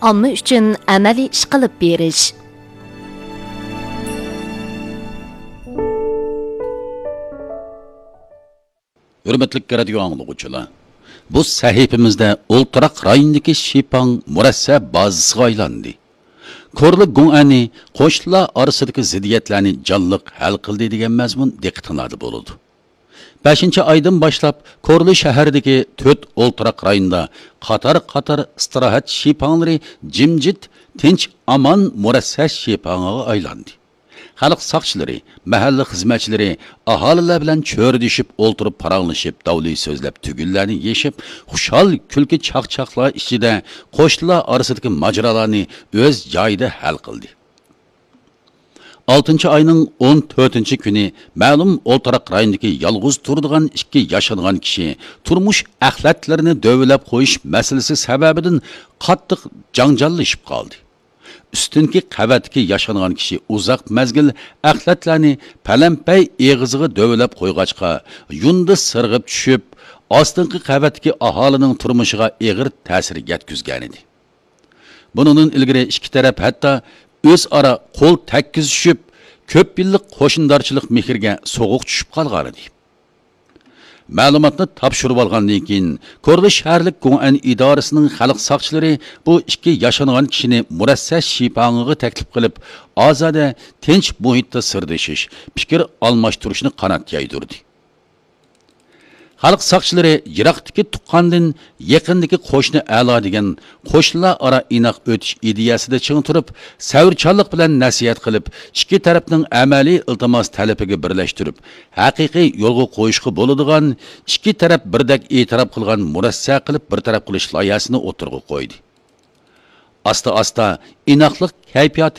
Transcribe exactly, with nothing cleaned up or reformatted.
ئامما ئۈچۈن ئەمەلىي ئىش قىلىپ بېرىش. ھۆرمەتلىك رادىيو ئاڭلىغۇچىلار، بۇ سەھىپىمىزدە ئولتۇراق رايونىدىكى شىپاڭ مۇرەسسە بازىسىغا ئايلاندى. كورلا گۇڭئەنى قوشنىلار ئارىسىدىكى زىددىيەتلەرنى جانلىق ھەل قىلدى دېگەن مەزمۇن دىققىتىڭلاردا بولىدۇ. بەشىنچى ئايدىن باشلاپ كورلا شەھىرىدىكى تۆت ئولتۇراق رايوندا قاتار-قاتار ئىستىراھەت شىپاڭلىرى جىمجىت، تىنچ-ئامان مۇرەسسە شىپاڭىغا ئايلاندى. خەلق ساقچىلىرى، مەھەللە خىزمەتچىلىرى ئاھالىلەر بىلەن چۆرىدىشىپ ئولتۇرۇپ پاراڭلىشىپ، داۋلى سۆزلەپ تۈگۈنلەرنى يېشىپ، خۇشال كۈلكە چاقچاقلار ئىچىدە قوشنىلار ئارىسىدىكى ماجىرالارنى ئۆز جايىدا ھەل قىلدى. ئالتىنچى ئاينىڭ ئون تۆتىنچى كۈنى مەلۇم ئولتۇراق رايونىدىكى يالغۇز تۇرىدىغان ئىككى ياشانغان كىشى تۇرمۇش ئەخلەتلىرىنى دۆۋىلەپ قويۇش مەسىلىسى سەۋەبىدىن قاتتىق جاڭجاللىشىپ قالدى. ئۈستۈنكى قەۋەتتىكى ياشانغان كىشى ئۇزاق مەزگىل ئەخلەتلەرنى پەلەمپەي ئېغىزىغا دۆۋىلەپ قويغاچقا، يۇندى سىرغىپ چۈشۈپ، ئاستىنقى قەۋەتتىكى ئاھالىنىڭ تۇرمۇشىغا ئېغىر تەسىر يەتكۈزگەنىدى. بۇنىڭدىن ئىلگىرى ئىككى تەرەپ ھەتتا ئۆزئارا قول تەگكۈزۈشۈپ، كۆپ يىللىق قوشنىدارچىلىق مېھرىگە سوغۇق چۈشۈپ قالغانىدى. مەلۇماتنى تاپشۇرۇۋالغاندىن كېيىن، كورلا شەھەرلىك گۇڭئەن ئىدارىسىنىڭ خەلق ساقچىلىرى بۇ ئىككى ياشانغان كىشىنى مۇرەسسە شىپاڭىغا تەكلىپ قىلىپ، ئازادە، تىنچ مۇھىتتا سىردىشىش، پىكىر ئالماشتۇرۇشنى قانات يايدۇردى. خەلق ساقچىلىرى يىراقتىكى تۇغقاندىن يېقىندىكى قوشنا ئەلا دېگەن قوشنىلار ئارا ئىناق ئۆتۈش ئىدىيەسىدە چىڭ تۇرۇپ، سەۋرچانلىق بىلەن نەسىھەت قىلىپ، ئىككى تەرەپنىڭ ئەمەلىي ئىلتىماس تەلىپىگە بىرلەشتۈرۈپ، ھەقىقىي يولغا قويۇشقا بولىدىغان، ئىككى تەرەپ بىردەك ئېتىراپ قىلغان مۇرەسسە قىلىپ بىر تەرەپ قىلىش لايىھەسىنى ئوتتۇرىغا قويدى. ئاستا-ئاستا ئىناقلىق كەيپىياتى